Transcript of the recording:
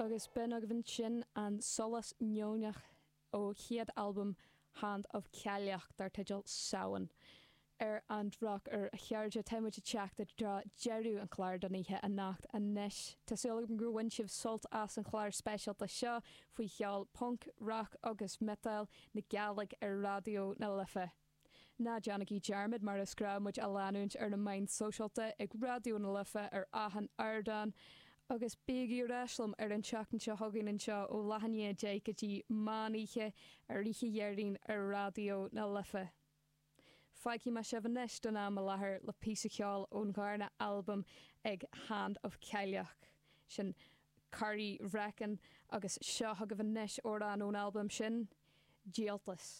Agus b'in agaibh ansin an Solas Neoineach ó chéad albam Hand of Cailleach dar teideal Samhain. Ar an drochuair, a chairde, tá muid ag teacht i dtreo deireadh an chláir don oíche anocht anois. Tá súil agam gur bhain sibh sult as an chlár speisialta seo faoi cheol punc, rac agus miotail na Gàidhlig ar Raidió na Life. Ná déanaigí dearmad mar is gnáth muid a leanúint ar na meáin sóisialta ag Raidió na Life ar achan ardán agus bígí ar ais liom ar an tseachtain seo chugainn anseo ó leath i ndiaidh 10 go dtí meán oíche ar oíche Dhéardaoin ar Raidió na Life. Fágfaidh mé sibh anois don am i láthair le píosa ceoil ón dharna albam ag Hand of Cailleach, sin Corryvreckan agus seo chugaibh anois amhrán ón albam sin, Díoltas.